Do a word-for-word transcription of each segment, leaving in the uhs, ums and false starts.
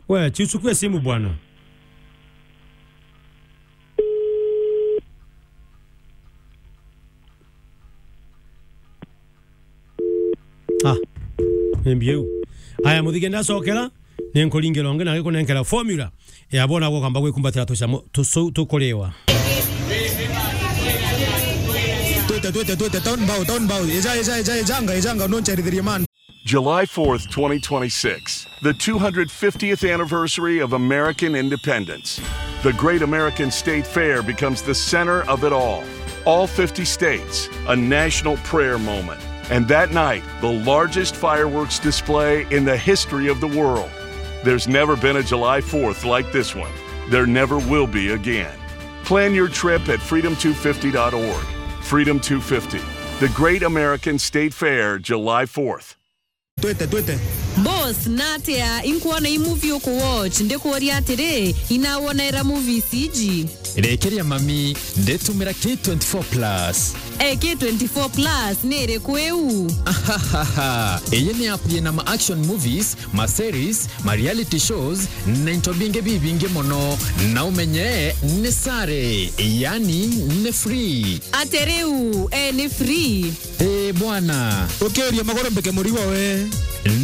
We, chiuchukue simu bwana. Ah, ni mbiu. Aya, muthige ndacokera, ni nkuringirwa ungi na gikunenkera formula ya bona gukamba gwikumbatira tucamu tucu tukuriwa. Twite, twite, twite, town bow, town bow. Eja, eja, eja, ejanga, ejanga, noncherithirie man. July fourth, twenty twenty-six, the two hundred fiftieth anniversary of American independence. The Great American State Fair becomes the center of it all. All fifty states, a national prayer moment. And that night, the largest fireworks display in the history of the world. There's never been a July fourth like this one. There never will be again. Plan your trip at freedom two fifty dot org. Freedom two fifty, the Great American State Fair, July fourth. Twite, twite. Boss, natia inkuona i movie uku watch, ndikuuria atiri, inawona era movies iji? Rekeria mami, nditumira K twenty-four plus. Eh, K twenty-four plus ni iriku iu? Ahahaha. Iyi ni app yina ma action movies, ma series, ma reality shows, na into bingi bibingi mono. Na umenye ni sare, yani ni free. Ati riu, eh, ni free? Ii bwana. Ukiuria maguru mbike murigo we.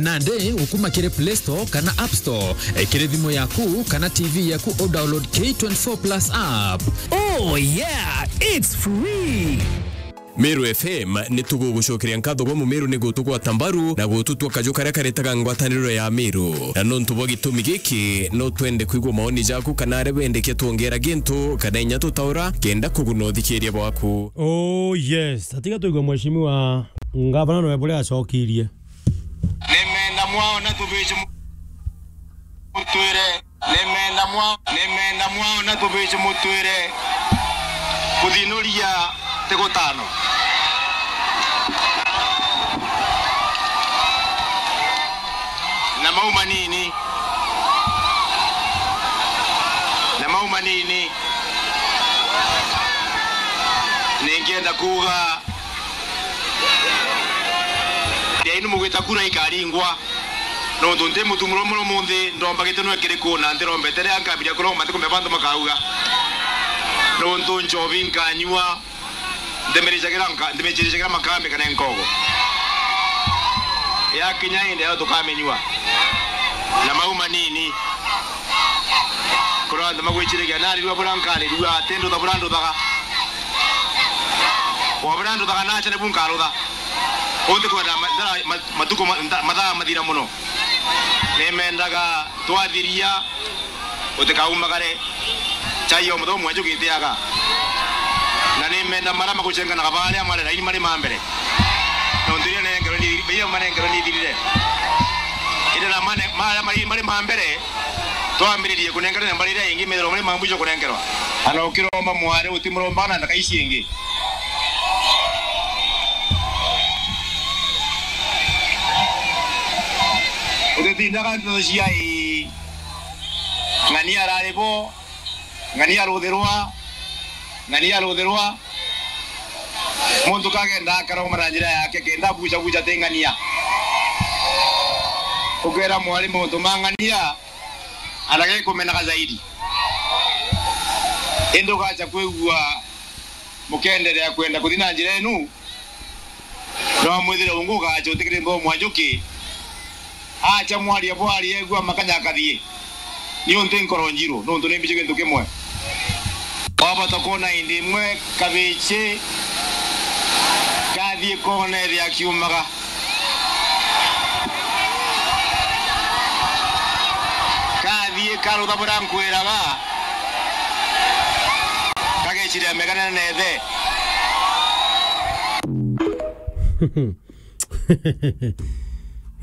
Nandi ukuma kiri Play Store kana App Store, eh, kiri thimu yaku kana T V yaku, u download K twenty-four plus app. Oh yeah, it's free. Meru F M ni tugugucokeria nkatho gwa Mumeru ni gutugwata mbaru na gututua kaju karia karetaga ngwataniro ya Meru. Na nontu bwa gitumi giki, no twende kwigua maoni jaku kana aria bendekia twongera gintu kana inya tutaura kenda kuguna uthikiria bwaku. Oh yes, atiga tuigwe mheshimiwa ngavana noe buria acokirie. Nimenda mwaona tubici mu-, mutwire. Nimenda mwa-, nimenda mwaona tubici mutwire kuthinuria tigutano. Na mau manini. Na mau manini. Ningienda kuuga, Ngai ni mugwita kura ikaringwa. Nontu nti mutumuro muno munthi, ndomba giteno kiriku na ntirombete ria nkambiria kuromba ntikumbe bantu makauga. Nontu nchobi nkanyua, ndimiricagira nka-, ndimiciricagira makambi kana nkogo. Yakinya indi yo tukaminyua. Na mau manini. Kura antu magwiciragia narirua bura nkarirua, ati ndutha bura nduthaga. Wa bura nduthaga nacha nibu nkarutha. Unti kwenda ma-, ndara-, ma-, matuku ma-, nda-, mathaa mathira muno. Nimendaga twathiria, utikaumagare. Chai ya muthomu mwanju gitiaga. Na nimenda mara magucenganaga baria mari raini mari ma mbere. Nontu iria nengerwe ni, iria manengerwe ni ithirire. Indi na mane-, mara mari, mari ma mbere, twambiririe kunengerwa na mbari iria ingi, methirwa mari ma mwisho kunengerwa. Ana ukiromba mwari, utimurombaga na ndaka ici ingi. Utitindaga nteto cia ii. Ng'ania arari bo, ng'ania ruthirwa, ng'ania ruthirwa. Muntu kagenda akaroma na njira yake, kenda buca buca ti ng'ania. Ukera mwari muntu ma ng'ania, anage kumenaga zaidi. Indi ugacha kwigua mukenderea kwenda kuthi na njira inu, no mwithire ungu ugacha utikiri nthomo mwanjuki. Acha mwaria bwaria, egua makanya akathie. Niuntu nkoro njiru, nontu ni mbici gintu kimwe. Wabota kwona indi imwe kabici kathie kona ethia akiumaga. Kathie karutha buria nkwiraga. Kageciria megane na ethe.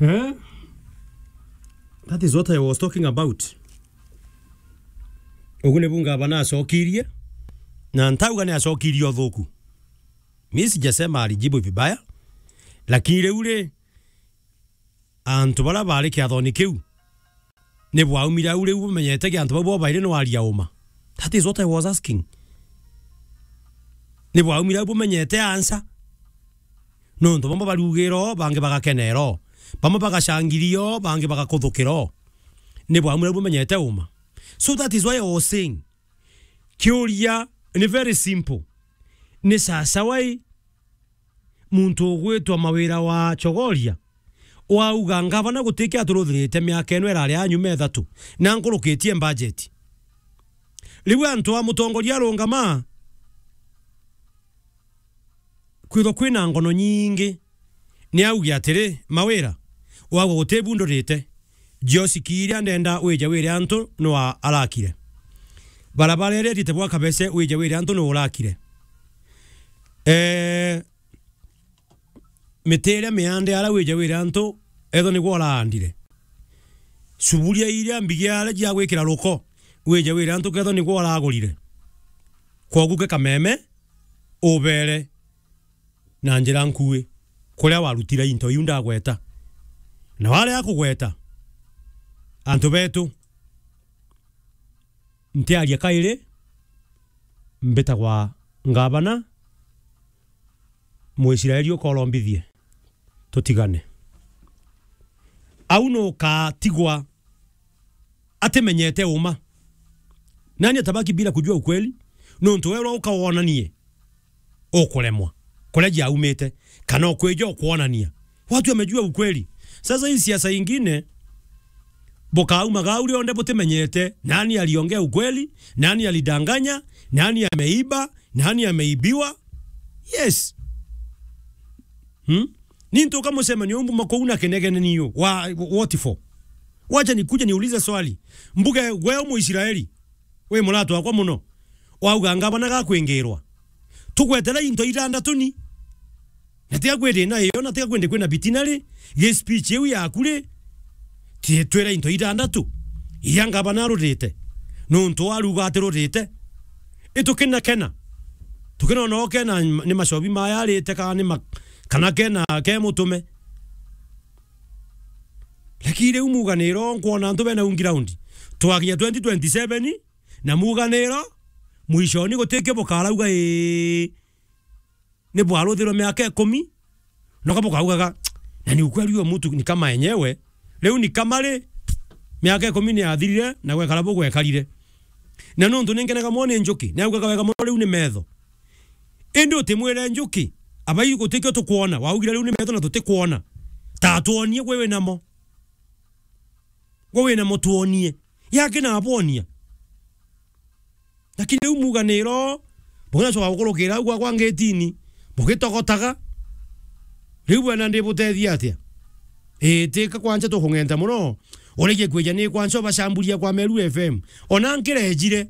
Eh? That is what I was talking about. Ugu nibu ngavana acokirie, na ntauga ni acokirie uthuku. Mi sijasema alijibu vibaya, lakini riu ri, antu baria bari kiathoni kiu, ni bwaumire au riu bumenyete ki antu bau bobairi ni waria uma? That is what I was asking. Ni bwaumire au bumenyete answer? Nontu bamwe bariugire o, bangi bagakenera o. Bamwe bagacangiria o, bangi bagakuthukira o. ni bwamwira bumenyete uma. So that is why I was saying, kiuria ni very simple. Ni sasa wai muntu ugwitwa Mawira wa Chogoria, wauga ngavana gutiki aturuthirite miaka ino irari ya nyuma ithatu, na nkurukitie budget. Riu antu a mutongoria arungama, kwithwa kwina ngono nyingi, ni auge atiri, Mawira, wagwa guti bundurite, Josiki iria ndenda wije wire antu nwa arakire. Barabara iria itite bwa Kabese wije wire antu nwa urakire. Eh, miti iria miande ara wije wire antu etho nigwo uraandire. Suburia iria mbigi ara cia gwikira ruko wije wire antu ketho nigwo uragurire. Kwogu ke kameme ubere na njira nkui kuria warutire into iu ndagweta. Na waria kugweta, antu betu, ntiaria kairi, mbitagwa ngavana, Muisraeli ukorombithie, tutigane. Au nukatigwa atimenyete uma. Nani atabaki bila kujua ukweli? Nontu wewe ukawonanie ukuremwa kuria jiaumite, kana ukwija ukwonania. Watu wamejua ukweli. Sasa hii siasa ingine, bukauma gau rionde butimenyete nani aliongea ukweli, nani alidanganya, nani ameiba, nani ameibiwa. Yes. Hmm? Ni ntuka mucemanio umbu makouna kenegene niyo. Wa, what for? Wacha nikuje niulize swali. Mbuge, we Muisraeli, we muratu wakwa muno, wauga ngavana gakwingirwa. Tugwetera into itandatu ni. Na tiga kwiri na iyo, na tiga kwende kwina bitinari, gi speech iu yaku ri, ti twira into itandatu iria ngavana arurite, nontu aruga atirurite. Itukina kena. Tukina ona okena ni macobi maya arite, kana ni ma-, kana kena ke mutume. Lakini riu muganiro nkwona antu bena un ground. Twakinya twenty twenty-seven, na muganiro, mwishoni gutiki bukarauga, ii, ni bwaruthirwe miaka ikumi, noka bukaugaga, na ni ukweli huyo mtu ni kama enyewe, riu ni kama ri, miaka ikumi ni yathirire, na gwekara bugwekarire. Na nontu ni nkenaga mono ni njuki, ni augaga wega mono riu ni metho. Indi utimwire njuki, abai gutikio tukwona, waugire riu ni metho na tutikwona. Ta twonie gwe wi namo. Gwe wi namo twonie. Yake na abonia. Lakini riu muganiro, bugacoka gukurukira au gwa, gwa ngitini, bugitogotaga. Riu bwena ndibutethia atia? Ii, tika kwanja tukung'enta muno. Urege kwija ni kwanja ubacamburia kwa Meru F M. Ona nkirejire.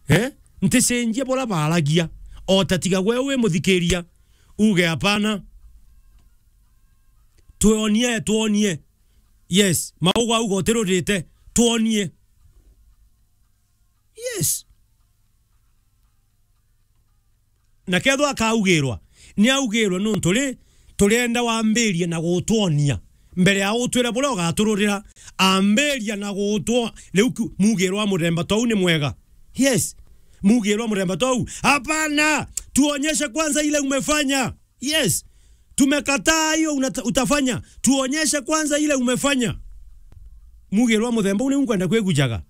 Eh? Nticenjia bura baragia. O ta tiga gwe wi muthikiria. Uge hapana. Twonie, twonie. Yes, mauga uga utirurite. Twonie. Yes. Na kethwa akaugirwa, ni augirwe nontu ri, turenda wambirie na gutwonia. Mbere ya utwira buria ugatururira, ambiria na gutwo-, riu ku-, mugirwa muremba tou ni mwega. Yes. Mugirwa muremba tou. Hapana, tuonyeshe kwanza ile umefanya. Yes. Tumekataa hiyo unata-, utafanya. Tuonyeshe kwanza ile umefanya. Mugirwa muthemba uu niu nkwenda kwigujaga.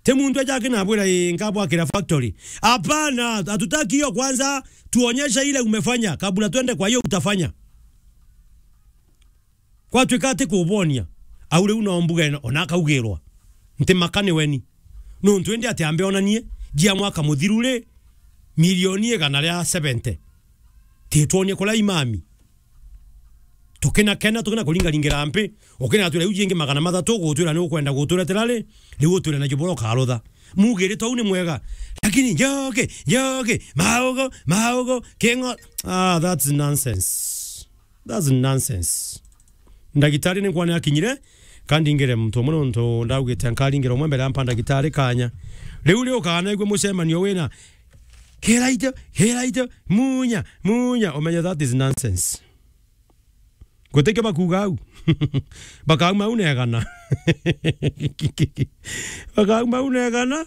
Ti muntu aja akinabwira, "Ii, nkabwakira factory." Hapana, hatutaki hiyo kwanza. Tuonyeshe ile umefanya kabla twende kwa hiyo utafanya. Kwatuika ati kubonia, au riu no mbuge ona akaugirwa. Nti makani weni. Nontu indi ati ambe onanie, jia mwaka muthiru ri, milioni igana ria seventy. Titwonie kuria imami. Tukina kena, tukina kuringaringira mpi. Ukina twira iu jingi magana mathatu, gutwira ni ukwenda guturetera ri, riu utwire na jubura ukarutha. Mugiri tou ni mwega. Lakini njoke, njoke, maugo, maugo, kingo. Ah, that's nonsense. That's nonsense. Ndagitari ni nkwane akinyire, kandi ngire muntu umwe nontu ndaugite nkaringire umwe mbere ampa ndagitari kanya. Riu ri ukanaigua mucemanio wina, "Kiraite, kiraite, munya, munya," umenye that is nonsense. Gutikio bakuga au. Bakauma au negana. Bakauma au negana.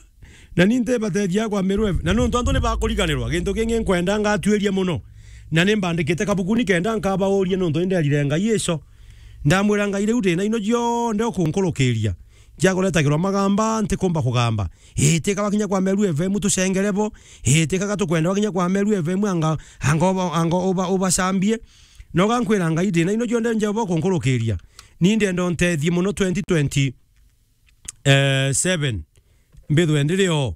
Na ni ntibatethia kwa Meru F-, na nontu antu ni bakuriganirwa, gintu kingi nkwenda ngatuiria muno. Na ni mbandikite kabuku ni kenda nkabauria nontu ni nderire Ngai ico. Ndamwira, Ngai, riu ndina ino cionthe ukunkurukiria, njakuretagirwa magamba, ntikumba kugamba. Itika wakinya kwa Meru F M tucengere bo, itika gatukwenda wakinya kwa Meru F M anga, anga uba, anga uba, ubacambie. Noga nkwira, Ngai, ndina ino cionthe Jehova ukunkurukiria. Ni ndenda untethie muno twenty twenty, eh, seven, mbithwe ndiri o.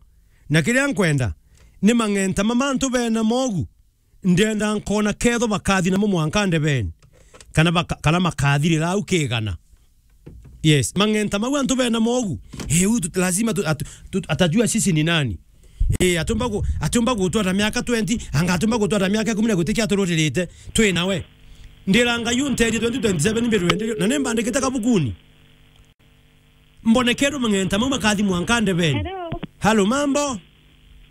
Na kiria nkwenda, ni mang'enta ma mantu bena mogu, ndenda nkona ketho bakathi namo mwanka ndebeni, kana baka-, kana makathirira au kigana. Yes, mang'enta mau antu bena mogu. Eh, huyu tu-, lazima tu-, atu-, tu-, atajua sisi ni nani. Eh, atumba gu-, atumba gutwara miaka twenty, anga atumba gutwara miaka ikumi na gutikia atururirite, twi nawe. Ndira Ngai unterie twenty twenty-seven mbirwe ndirio, na nimbandikite kabukuni. Mbonekerwe mang'enta mau makathi mwanka ndebeni. Hello. Hello, mambo?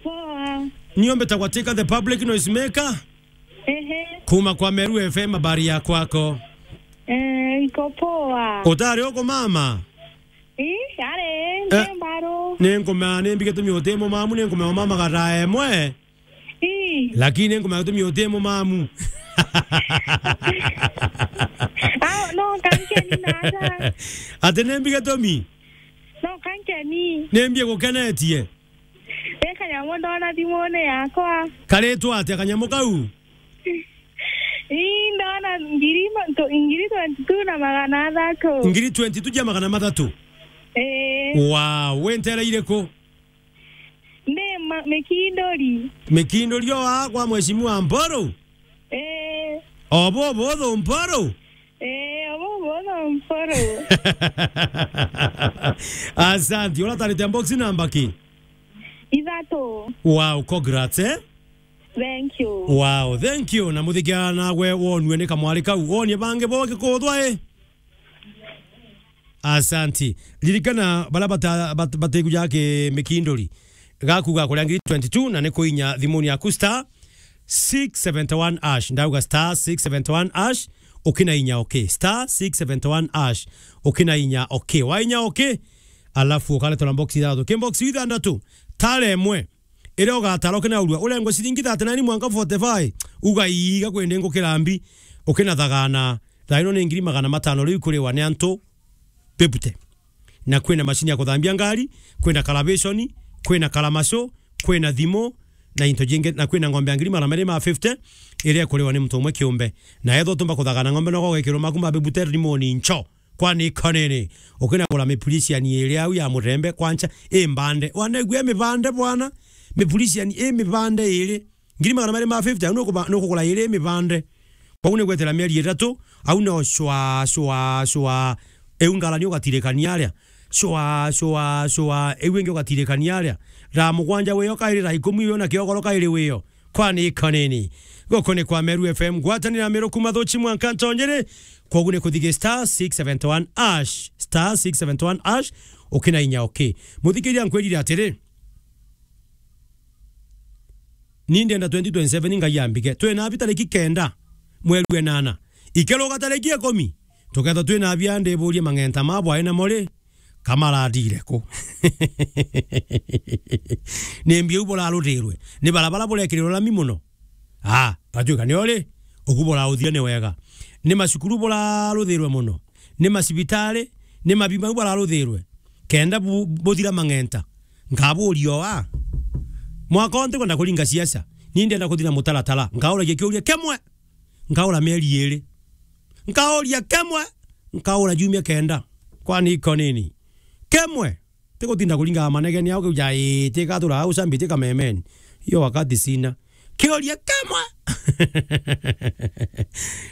Poa. Niombe tagwatika the public noise maker. Ehe. Kuma kwa Meru F M, habari ya kwako? Eh, iko poa. Utari uko mama? Ii, ari, eh, nje mbaro. Ni nkuma, ni mbige tumi uti mumamu, ni nkuma mama gata emwe. Ii. Lakini nkuma tumi uti mumamu. Ah, no, kankeni nata. Ati ni mbige tumi? No, kankeni. Ni mbie gukenetie. Ni kanyamu ndona thimune yakwa. Karitwa atia kanyamu kau? Ii, ndona ngiri ma-, to-, ngiri twenty-two na magana athatu. Ngiri twenty-two ja magana mathatu? Ee. Wow, wi nteere iriku? Ndi ma-, Mikinduri. Mikinduri o aa kwa Mheshimiwa Mpuru? Ee. Obo, obo, obo, Mpuru? Ee, obo, obo, obo, Mpuru. Asante. Uratarite box namba ki? Ithatu. Wow, congrats, eh? Thank you. Wow, thank you. Na muthikia nagwe wonue ni kamwari kau. Wonie bangi bo gikuthwa, eh? Asanti. Ririkana, baria bata-, bat-, batikuja ki Mikinduri, gaku ga kuria ngiri twenty-two, na ni kuinya thimuni yaku star six seventy-one hash. Ndauga star six seventy-one hash, ukina inya okay. Star six seventy-one hash, ukina inya okay. Wainya okay, alafu ukaretwa na box ithathatu. Ki box ithathatu, tara imwe. Iria ugatara ukinaurua, urengwe ciringi thirty-nine mwanka forty-five, uga, "Ii, ga kwindi ngukira mbi," ukinathagana. Thaa ino ni ngiri magana matano riu ikuriwa ni antu bebute. Na kwina macini ya kuthambia ngari, kwina karavishoni, kwina karamaco, kwina thimu, na into jingi, na kwina ng'ombe ya ngiri magana meri ma fifty, iria ikuriwa ni muntu umwe kiumbe. Na ethwa utumba kuthagana ng'ombe, no gugekirwa maku ma bebute rimoni ncho. Kwani ikonene, ukinagura mipuriciani iri au ya murembe, kwancha i mbande. Wanegua i mibande bwana, mipuriciani i mibande iri. Ngiri magana meri ma fifty, au nukuba-, nukugura iri i mibande. Kwou ni gwetera mieri ithatu, au no cwa, cwa, cwa. Iu ngarani ugatirikania aria. Cwa, cwa, cwa. Iu ingi ugatirikania aria. Thaa mugwanja wio kairi, thaa ikumi wio, na kiogoro kairi wio. Kwani ikonene. Guku ni kwa Meru F M, ngwatanira Meru kuma Thuchi mwanka Ntonyere. Kwogu ni kuthigia star six seventy-one hash, star six seventy-one hash, ukina inya okay. Muthikiria nkwirire atiri, ni ndenda twenty twenty-seven Ngai ambige. Twina abi tariki kenda, mweri wa enana. Ikeruga tariki ikumi, tukethwa twina abi, ndiburie mang'enta ma bwae namo ri, kamarathiire ku? Ni mbi u buraruthirwe? Ni barabara burekirirwe rami muno? Ah, gatuika nio ri, ugu burauthia ni wega. Ni macukuru buraruthirwe muno? Ni macibitari? Ni mabi mau bararuthirwe? Kenda bu-, buthira mang'enta. Nkaburia o a. Mwaka o ntikwenda kuringa siasa. Ni ndenda kuthira mutaratara. Nkauragia kiuria kimwe. Nkaura mieri iri. Nkauria kimwe. Nkaura jumia kenda. Kwani ikonini? Kimwe. Tigutinda kuringa manegene au kiuja, "Ii, tika turaga ucambi, tika memeni." Hiyo wakati sina. Kiuria kimwe.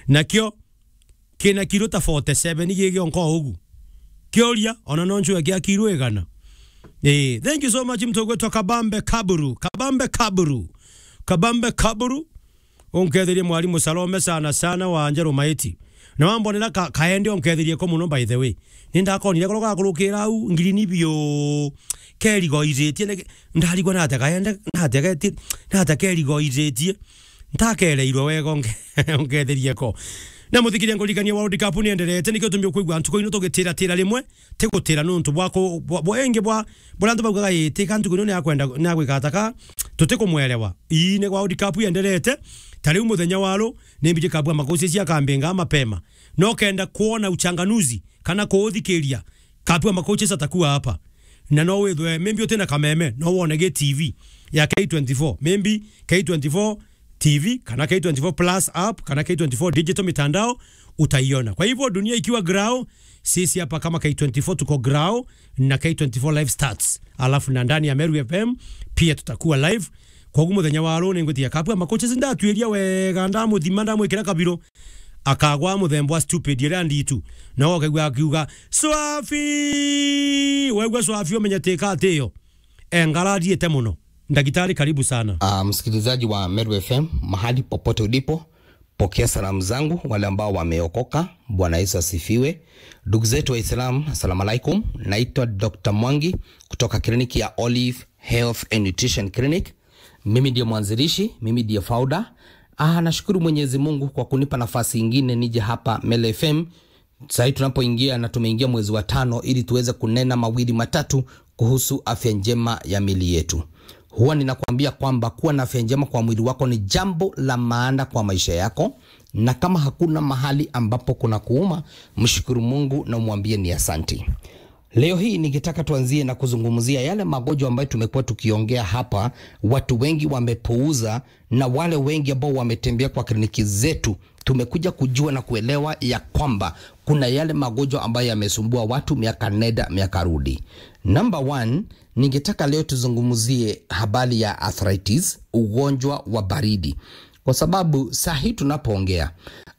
Nakio kina kiro ta forty-seven gigionka ugu. Kiuria, ona no ncue kia kiro igana. Eh, thank you so much, mtu ugwitwa Kabambe Kaburu. Kabambe Kaburu. Kabambe Kaburu. Unketherie mwarimu Salome sana sana wa Njeru Maiti. Na wambonera ka-, kaende unketherie ko muno, by the way. Ni ndakonire koro gakurukira au, ngiri ni biu. Kerigoithitie, ni-, ndarigwa nate kaende, nate geti-, nate kerigoithitie. Ntakereirwe wega unke-, unketherie ko. Na muthikiria nkuririkania World Cup ni enderete, nikio tumbi ukwigua ntuku ino tugitira tira rimwe, tigutira nuntu bwa ku-, bwa, bwa ingi bwa, bwa antu baugaga, "Ii, tika ntuku ino ni akwenda, ni agwika ataka, tutikumwelewa." Ii, ni World Cup yenderete, ta riu muthenya wa ru, ni mbiji kabua makuci cia kambinga mapema. na ukenda kuona uchanganuzi kana kuuthikiria, Kapu ya Makoches atakuwa hapa. Na no withwe, maybe utina kameme, no wone gi T V ya K twenty-four, maybe K twenty-four T V, kana K twenty-four Plus app, kana K twenty-four digital mitandao, utaiona. Kwa hivyo, dunia ikiwa grao, sisi hapa kama K twenty-four tuko grao, na K twenty-four Live Stats. Alafu na ndani ya Meru F M pia tutakuwa live. Koguo muthenya wa ruu ningwitia Kapu ya Makoches, ndatuiria wega, ndamuthima, ndamwikira kabiro, akagwa muthemba wa stupid iria nditu. Na ukaigua akiuga, "Swafi!" Waigua Swafi, umenye tika atiyo. E, ngarariite muno. Ndagitari, karibu sana. Ah, msikilizaji wa Meru F M, mahali popote ulipo, pokea salamu zangu, wale ambao wameokoka. Bwana Yesu asifiwe. Ndugu zetu wa Islam, assalamu alaikum. Naitwa Doctor Mwangi kutoka kliniki ya Olive Health and Nutrition Clinic. Mimi ndiye mwanzilishi, mimi ndiye founder. Ah, nashukuru Mwenyezi Mungu kwa kunipa nafasi ingine nije hapa Meru F M. Sahii tunapoingia na tumeingia mwezi wa tano, ili tuweze kunena mawili matatu kuhusu afya njema ya mili yetu. Huwa ninakwambia kwamba kuwa na afya njema kwa mwili wako ni jambo la maana kwa maisha yako, na kama hakuna mahali ambapo kuna kuuma, mshukuru Mungu na umwambie ni asanti. Leo hii ningetaka tuanzie na kuzungumzia yale magonjwa ambayo tumekuwa tukiongea hapa, watu wengi wamepuuza, na wale wengi ambao wametembea kwa kliniki zetu, tumekuja kujua na kuelewa ya kwamba kuna yale magonjwa ambayo yamesumbua watu miaka nenda, miaka rudi. Number one, ningetaka leo tuzungumzie habari ya arthritis, ugonjwa wa baridi. Kwa sababu saa hii tunapoongea,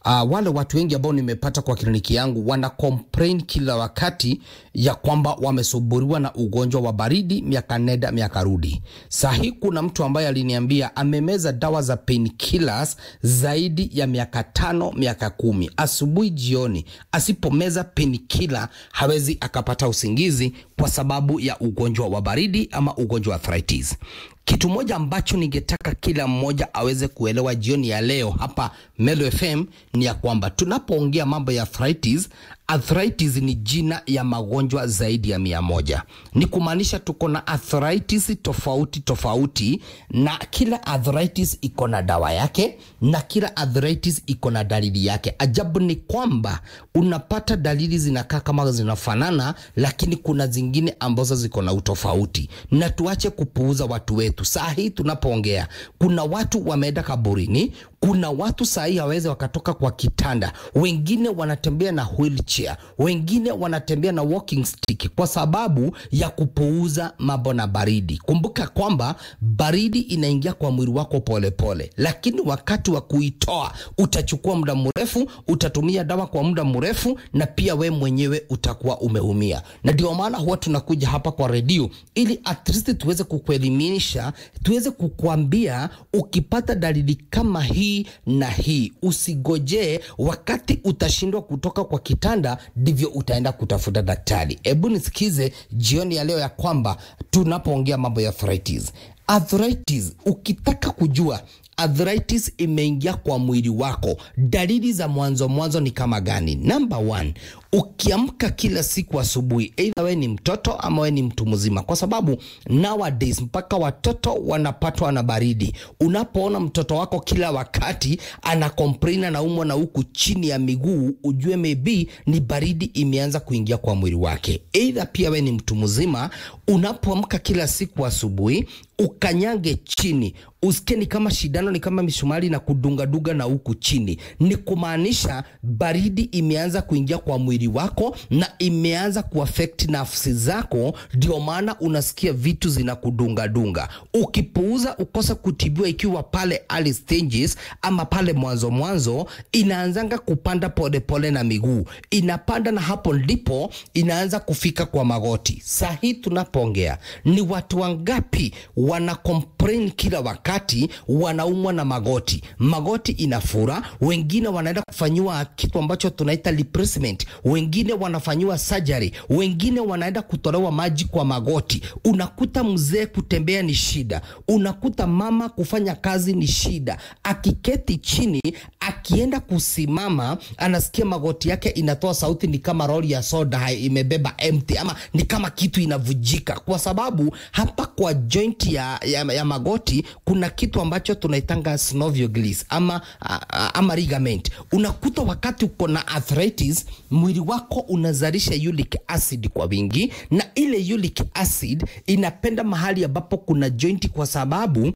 ah, wale watu wengi ambao nimepata kwa kliniki yangu wana complain kila wakati ya kwamba wamesumbuliwa na ugonjwa wa baridi miaka nenda, miaka rudi. Saa hii kuna mtu ambaye aliniambia amemeza dawa za painkillers zaidi ya miaka tano, miaka kumi. Asubuhi, jioni, asipomeza painkiller, hawezi akapata usingizi kwa sababu ya ugonjwa wa baridi ama ugonjwa wa arthritis. Kitu moja ambacho ningetaka kila mmoja aweze kuelewa jioni ya leo hapa Meru F M ni ya kwamba tunapoongea mambo ya arthritis, arthritis ni jina ya magonjwa zaidi ya mia moja. Ni kumaanisha tuko na arthritis tofauti tofauti, na kila arthritis iko na dawa yake, na kila arthritis iko na dalili yake. Ajabu ni kwamba unapata dalili zinakaa kama zinafanana, lakini kuna zingine ambazo ziko na utofauti. Na tuache kupuuza watu wetu. Saa hii tunapoongea, kuna watu wameenda kaburini, kuna watu saa hii hawawezi wakatoka kwa kitanda, wengine wanatembea na wheelchair, wengine wanatembea na walking stick kwa sababu ya kupuuza mambo na baridi. Kumbuka kwamba baridi inaingia kwa mwili wako pole pole, lakini wakati wa kuitoa utachukua muda mrefu, utatumia dawa kwa muda mrefu, na pia we mwenyewe utakuwa umeumia. Na ndio maana huwa tunakuja hapa kwa redio ili at least tuweze kukuelimisha, tuweze kukuambia ukipata dalili kama hii na hii, usigojee wakati utashindwa kutoka kwa kitanda ndivyo utaenda kutafuta daktari. Hebu nisikize jioni ya leo ya kwamba tunapoongea mambo ya arthritis. Arthritis, ukitaka kujua arthritis imeingia kwa mwili wako, dalili za mwanzo mwanzo ni kama gani? Number one, ukiamka kila siku asubuhi, either we ni mtoto ama we ni mtu mzima, kwa sababu nowadays mpaka watoto wanapatwa na baridi. Unapoona mtoto wako kila wakati ana complain, anaumwa na huku chini ya miguu, ujue maybe ni baridi imeanza kuingia kwa mwili wake. Either pia we ni mtu mzima, unapoamka kila siku asubuhi, ukanyange chini, usikie ni kama shindano, ni kama misumari na kudungadunga na huku chini, ni kumaanisha baridi imeanza kuingia kwa mwili wako na imeanza kuaffect nafsi zako, ndio maana unasikia vitu zinakudungadunga. Ukipuuza, ukose kutibiwa ikiwa pale early stages ama pale mwanzo mwanzo, inaanzanga kupanda pole pole na miguu, inapanda na hapo ndipo inaanza kufika kwa magoti. Saa hii tunapoongea, ni watu wangapi wana complain kila wakati, wanaumwa na magoti, magoti inafura, wengine wanaenda kufanyiwa kitu ambacho tunaita replacement, wengine wanafanyiwa surgery, wengine wanaenda kutolewa maji kwa magoti. Unakuta mzee kutembea ni shida, unakuta mama kufanya kazi ni shida. Akiketi chini, akienda kusimama, anasikia magoti yake inatoa sauti ni kama lori ya soda hai-, imebeba empty, ama ni kama kitu inavujika. kuharibika, kwa sababu hapa kwa joint ya, ya, ya magoti kuna kitu ambacho tunaitanga synovial gills ama, a- a- ama ligament. Unakuta wakati uko na arthritis, mwili wako unazalisha uric acid kwa wingi, na ile uric acid inapenda mahali ambapo kuna joint, kwa sababu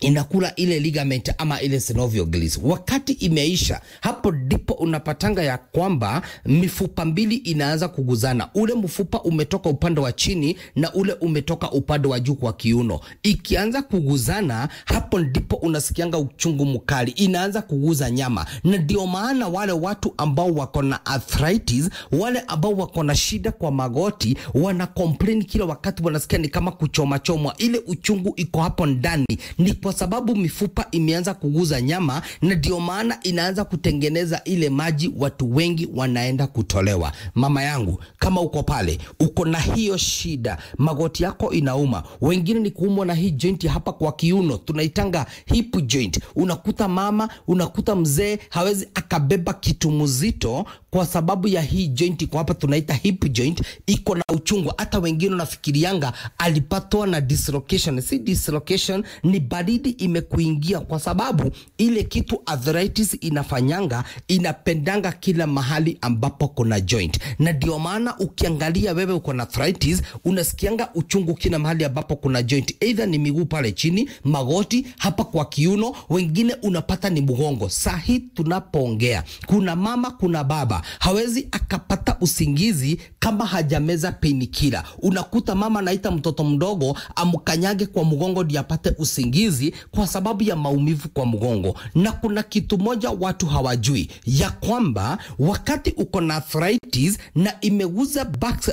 inakula ile ligament ama ile synovial gills. Wakati imeisha, hapo ndipo unapatanga ya kwamba mifupa mbili inaanza kuguzana. Ule mfupa umetoka upande wa chini na ule umetoka upande wa juu kwa kiuno. Ikianza kuguzana, hapo ndipo unasikianga uchungu mkali, inaanza kuguza nyama. Na ndio maana wale watu ambao wako na arthritis, wale ambao wako na shida kwa magoti, wana complain kila wakati, wanasikia ni kama kuchoma chomwa. Ile uchungu iko hapo ndani, ni kwa sababu mifupa imeanza kuguza nyama, na ndio maana inaanza kutengeneza ile maji, watu wengi wanaenda kutolewa. Mama yangu, kama uko pale, uko na hiyo shida, magoti yako inauma, wengine ni kuumwa na hii joint hapa kwa kiuno, tunaitanga hip joint. Unakuta mama, unakuta mzee hawezi akabeba kitu mzito kwa sababu ya hii joint iko hapa, tunaita hip joint, iko na uchungu. Hata wengine unafikirianga alipatwa na dislocation. Si dislocation, ni baridi imekuingia, kwa sababu ile kitu arthritis inafanyanga, inapendanga kila mahali ambapo kuna joint. Na ndio maana ukiangalia wewe uko na arthritis, unasikianga uchungu kila mahali ambapo kuna joint, either ni miguu pale chini, magoti, hapa kwa kiuno, wengine unapata ni mgongo. Sahi tunapoongea, kuna mama, kuna baba hawezi akapata usingizi kama hajameza painkiller. Unakuta mama anaita mtoto mdogo amkanyage kwa mgongo ndio apate usingizi kwa sababu ya maumivu kwa mgongo. Na kuna kitu moja watu hawajui, ya kwamba wakati uko na arthritis na imeguza back,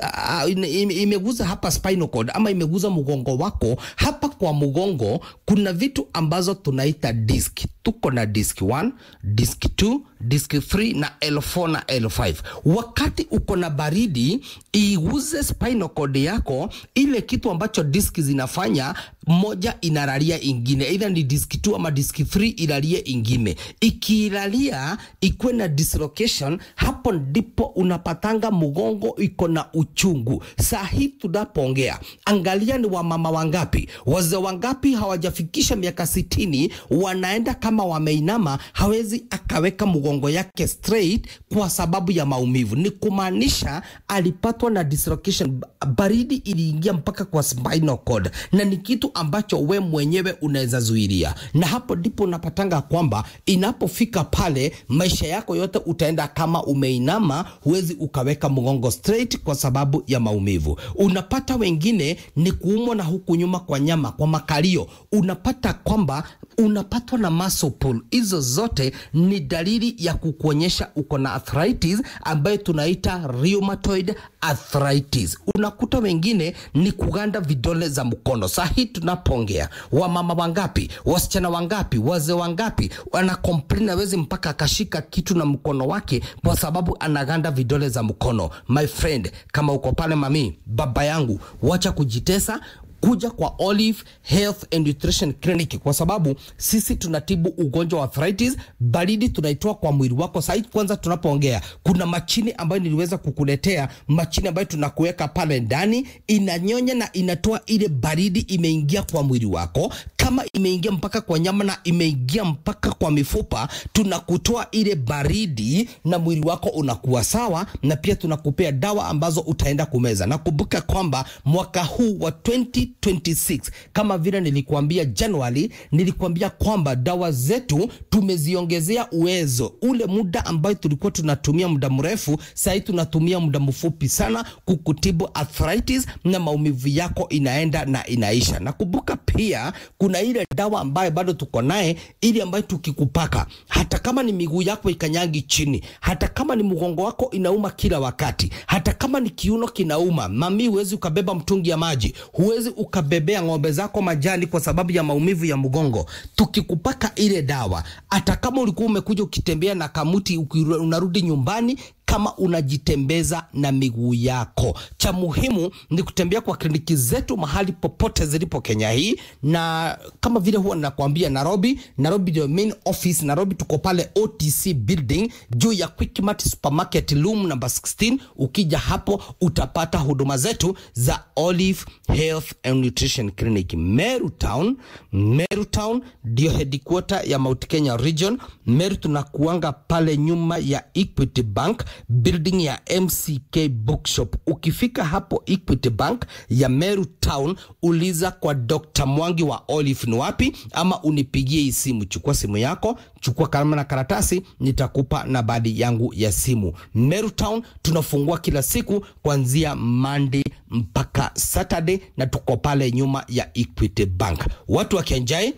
uh, ime- imeguza hapa spinal cord ama imeguza mgongo wako, hapa kwa mgongo kuna vitu ambazo tunaita disc. Tuko na disc one, disc two, disc three na L four na L five. Wakati uko na baridi, iguze spinal cord yako, ile kitu ambacho disc zinafanya, moja inalalia ingine, either ni disc two ama disc three ilalie ingine. Ikilalia, ikuwe na dislocation, hapo ndipo unapatanga mgongo iko na uchungu. Sahi tunapoongea, angalia ni wamama wangapi, wazee wangapi hawajafikisha miaka sitini, wanaenda kama wameinama, hawezi akaweka mgongo yake straight kwa sababu ya maumivu. Ni kumaanisha alipatwa na dislocation, ba- baridi iliingia mpaka kwa spinal cord, na ni kitu ambacho we mwenyewe unaweza zuilia. Na hapo ndipo unapatanga kwamba inapofika pale, maisha yako yote utaenda kama umeinama, huwezi ukaweka mgongo straight kwa sababu ya maumivu. Unapata wengine ni kuumwa na huku nyuma kwa nyama, kwa makalio, unapata kwamba unapatwa na muscle pull. Hizo zote ni dalili ya kukuonyesha uko na arthritis ambayo tunaita rheumatoid arthritis. Unakuta wengine ni kuganda vidole za mkono. Sahi tunapoongea, wamama wangapi, wasichana wangapi, wazee wangapi wana complain, hawezi mpaka akashika kitu na mkono wake kwa sababu anaganda vidole za mkono? My friend, kama uko pale, mami, baba yangu, wacha kujitesa, kuja kwa Olive Health and Nutrition Clinic, kwa sababu sisi tunatibu ugonjwa wa arthritis. Baridi tunaitoa kwa mwili wako. Sasa kwanza tunapoongea, kuna machine ambayo niliweza kukuletea, machine ambayo tunakuweka pale ndani, inanyonya na inatoa ile baridi imeingia kwa mwili wako. Kama imeingia mpaka kwa nyama na imeingia mpaka kwa mifupa, tunakutoa ile baridi na mwili wako unakuwa sawa, na pia tunakupea dawa ambazo utaenda kumeza. Na kumbuka kwamba mwaka huu wa twenty twenty-six, kama vile nilikuambia January, nilikuambia kwamba dawa zetu tumeziongezea uwezo. Ule muda ambayo tulikuwa tunatumia muda mrefu, sasa tunatumia muda mfupi sana kukutibu arthritis na maumivu yako inaenda na inaisha. Na kumbuka pia, kuna ile dawa ambayo bado tuko naye, ili ambayo tukikupaka, hata kama ni miguu yako ikanyangi chini, hata kama ni mgongo wako inauma kila wakati, hata kama ni kiuno kinauma, mami, huwezi ukabeba mtungi ya maji, huwezi ukabebea ng'ombe zako majani kwa sababu ya maumivu ya mgongo. Tukikupaka ile dawa, hata kama ulikuwa umekuja ukitembea na kamuti ukiru- unarudi nyumbani, kama unajitembeza na miguu yako. Cha muhimu ni kutembea kwa kliniki zetu mahali popote zilipo Kenya hii, na kama vile huwa nakwambia, Nairobi, Nairobi ndio main office. Nairobi tuko pale O T C building juu ya Quickmart Supermarket, room number sixteen. Ukija hapo utapata huduma zetu za Olive Health and Nutrition Clinic. Meru Town, Meru Town ndio headquarter ya Mount Kenya Region. Meru tunakuanga pale nyuma ya Equity Bank, building ya M C K Bookshop. Ukifika hapo Equity Bank ya Meru Town, uliza kwa Doctor Mwangi wa Olive ni wapi, ama unipigie hii simu. Chukua simu yako, chukua kalamu na karatasi, nitakupa nambari yangu ya simu. Meru Town tunafungua kila siku kuanzia Monday mpaka Saturday, na tuko pale nyuma ya Equity Bank. Watu wa Kianjai,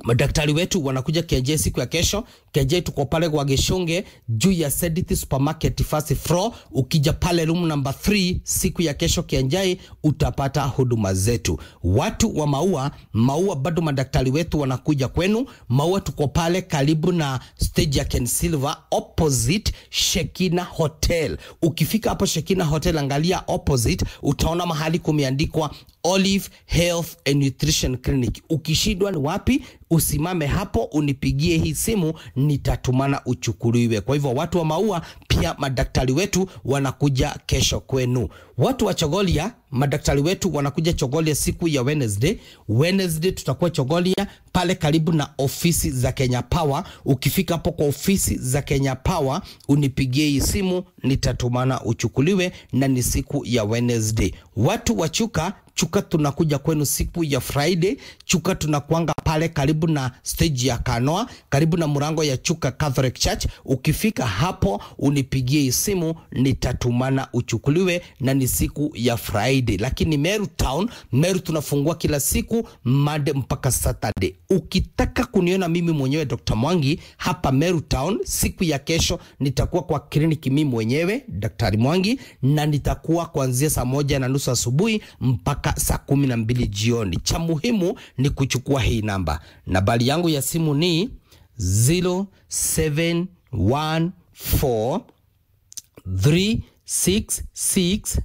madaktari wetu wanakuja Kianjai siku ya kesho. Kianjai tuko pale kwa Gishunge juu ya Sedit Supermarket first floor. Ukija pale room number three siku ya kesho Kianjai, utapata huduma zetu. Watu wa Maua, Maua bado madaktari wetu wanakuja kwenu. Maua tuko pale karibu na stage ya Ken Silver, opposite Shekina Hotel. Ukifika hapo Shekina Hotel, angalia opposite, utaona mahali kumeandikwa Olive Health and Nutrition Clinic. Ukishindwa ni wapi, usimame hapo, unipigie hii simu, nitatumana uchukuliwe. Kwa hivyo watu wa Maua, pia madaktari wetu wanakuja kesho kwenu. Watu wa Chogoria, madaktari wetu wanakuja Chogoria siku ya Wednesday. Wednesday tutakuwa Chogoria pale karibu na ofisi za Kenya Power. Ukifika hapo kwa ofisi za Kenya Power, unipigie hii simu, nitatumana uchukuliwe, na ni siku ya Wednesday. Watu wa Chuka, Chuka tunakuja kwenu siku ya Friday. Chuka tunakuanga pale karibu na stage ya Kanoa, karibu na mlango ya Chuka Catholic Church. Ukifika hapo, unipigie hii simu, nitatumana uchukuliwe, na ni siku ya Friday. Lakini Meru Town, Meru tunafungua kila siku Monday mpaka Saturday. Ukitaka kuniona mimi mwenyewe Doctor Mwangi hapa Meru Town, siku ya kesho nitakuwa kwa kliniki mimi mwenyewe Daktari Mwangi, na nitakuwa kuanzia saa moja na nusu asubuhi mpaka saa kumi na mbili jioni. Cha muhimu ni kuchukua hii namba. Nambari yangu ya simu ni zero seven one four three six six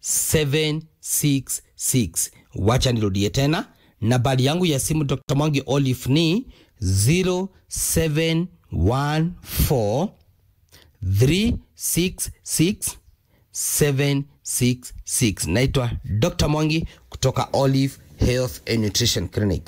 seven six six. Wacha nirudie tena. Nambari yangu ya simu Doctor Mwangi Olive ni zero seven one four three six six seven six six. Naitwa Doctor Mwangi kutoka Olive Health and Nutrition Clinic.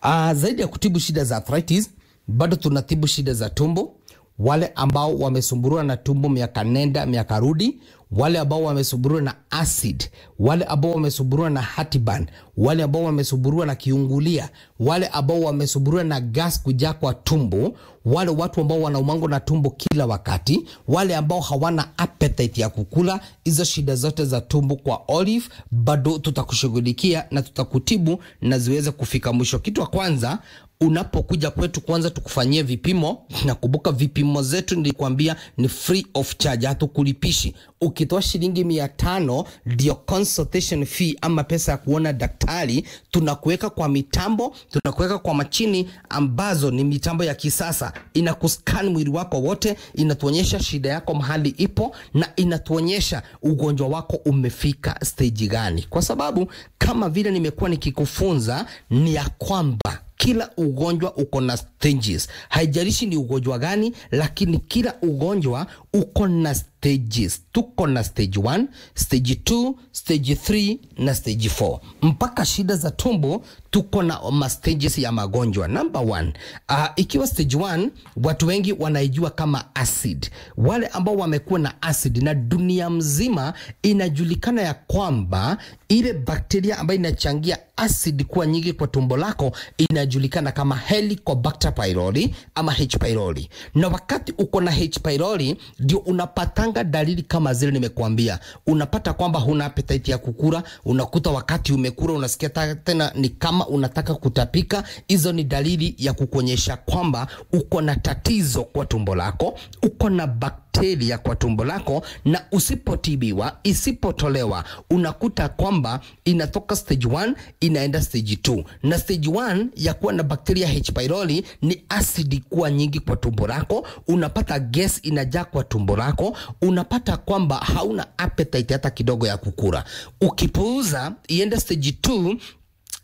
Ah, zaidi ya kutibu shida za arthritis, bado tunatibu shida za tumbo. Wale ambao wamesumbuliwa na tumbo miaka nenda miaka rudi, wale ambao wamesumbuliwa na acid, wale ambao wamesumbuliwa na heartburn, wale ambao wamesumbuliwa na kiungulia, wale ambao wamesumbuliwa na gas kujaa kwa tumbo, wale watu ambao wanaumangwa na tumbo kila wakati, wale ambao hawana appetite ya kukula, hizo shida zote za tumbo kwa Olive, bado tutakushughulikia na tutakutibu na ziweze kufika mwisho. Kitu ya kwanza, unapokuja kwetu, kwanza tukufanyie vipimo, na kumbuka vipimo zetu nilikwambia ni free of charge, hatukulipishi. Ukitoa shilingi mia tano ndio consultation fee ama pesa ya kuona daktari, tunakuweka kwa mitambo, tunakuweka kwa machini ambazo ni mitambo ya kisasa, inakuscan mwili wako wote, inatuonyesha shida yako mahali ipo, na inatuonyesha ugonjwa wako umefika stage gani, kwa sababu kama vile nimekuwa nikikufunza ni ya kwamba kila ugonjwa uko na stages. Haijalishi ni ugonjwa gani, lakini kila ugonjwa uko na stages. Tuko na stage one, stage two, stage three na stage four. Mpaka shida za tumbo tuko na ma stages ya magonjwa. Number one, ah, ikiwa stage one, watu wengi wanaijua kama acid. Wale ambao wamekuwa na acid, na dunia mzima inajulikana ya kwamba ile bakteria ambayo inachangia acid kuwa nyingi kwa tumbo lako inajulikana kama Helicobacter pylori ama H pylori. Na wakati uko na H pylori, ndio unapatanga dalili kama zile nimekuambia. Unapata kwamba huna appetite ya kukula, unakuta wakati umekula unasikia ta-, tena ni kama unataka kutapika. Hizo ni dalili ya kukuonyesha kwamba uko na tatizo kwa tumbo lako, uko na bakteria kwa tumbo lako, na usipotibiwa, isipotolewa, unakuta kwamba inatoka stage one, inaenda stage two. Na stage one ya kuwa na bakteria H. pylori ni acid kuwa nyingi kwa tumbo lako, unapata gas inajaa kwa tumbo lako, unapata kwamba hauna appetite hata kidogo ya kukula. Ukipuuza, iende stage two,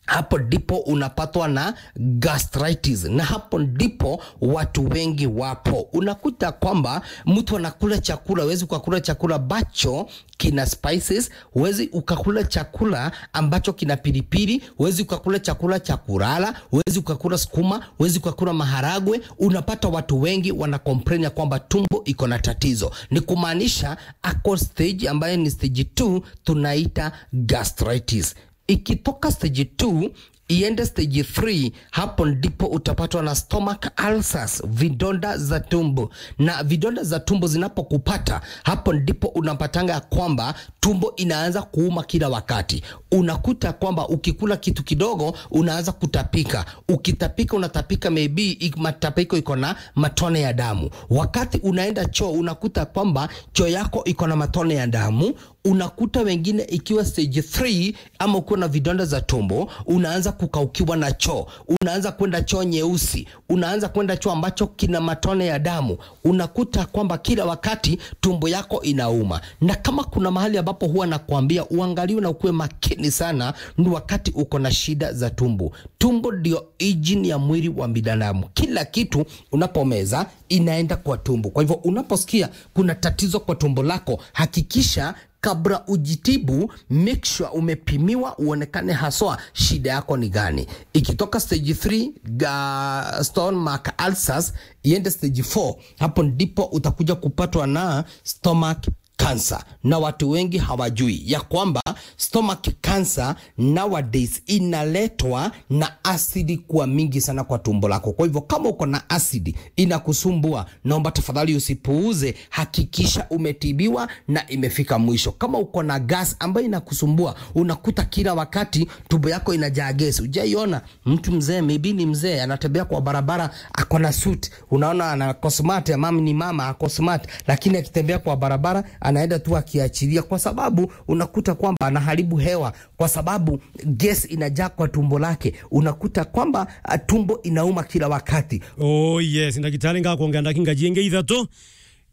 hapo ndipo unapatwa na gastritis, na hapo ndipo watu wengi wapo. Unakuta kwamba mtu anakula chakula, huwezi ukakula chakula ambacho kina spices, huwezi ukakula chakula ambacho kina pilipili, huwezi ukakula chakula cha kulala, huwezi ukakula sukuma, huwezi ukakula maharagwe. Unapata watu wengi wana complain ya kwamba tumbo iko na tatizo. Ni kumaanisha ako stage ambayo ni stage two, tunaita gastritis. Ikitoka stage two, iende stage three, hapo ndipo utapatwa na stomach ulcers, vidonda za tumbo. Na vidonda za tumbo zinapokupata, hapo ndipo unapatanga ya kwamba tumbo inaanza kuuma kila wakati. Unakuta kwamba ukikula kitu kidogo, unaanza kutapika. Ukitapika, unatapika, maybe ik-, matapiko iko na matone ya damu. Wakati unaenda choo, unakuta kwamba choo yako iko na matone ya damu. Unakuta wengine ikiwa stage three, ama ukiwa na vidonda za tumbo, unaanza kukaukiwa na choo, unaanza kwenda choo nyeusi, unaanza kwenda choo ambacho kina matone ya damu. Unakuta kwamba kila wakati tumbo yako inauma. Na kama kuna mahali ambapo huwa nakwambia uangaliwe na ukuwe makini sana, ni wakati uko na shida za tumbo. Tumbo ndio engine ya mwili wa binadamu. Kila kitu unapomeza inaenda kwa tumbo. Kwa hivyo unaposikia kuna tatizo kwa tumbo lako, hakikisha kabla ujitibu, make sure umepimiwa, uonekane haswa shida yako ni gani. Ikitoka stage three, ga-, stomach ulcers, iende stage four, hapo ndipo utakuja kupatwa na stomach cancer. Na watu wengi hawajui ya kwamba stomach cancer nowadays inaletwa na asidi kuwa mingi sana kwa tumbo lako. Kwa hivyo kama uko na asidi inakusumbua, naomba tafadhali usipuuze, hakikisha umetibiwa na imefika mwisho. Kama uko na gas ambayo inakusumbua, unakuta kila wakati tumbo yako inajaa gas. Hujaiona mtu mzee, maybe ni mzee, anatembea kwa barabara, ako na suit, unaona ana cosmat, ya mama ni mama, ako smart, lakini akitembea kwa barabara, anaenda tu akiachilia, kwa sababu unakuta kwamba anaharibu hewa, kwa sababu gas inajaa kwa tumbo lake. Unakuta kwamba, ah, tumbo inauma kila wakati. Oh yes, ndagitari, ngakwongera ndakika ingi ithatu.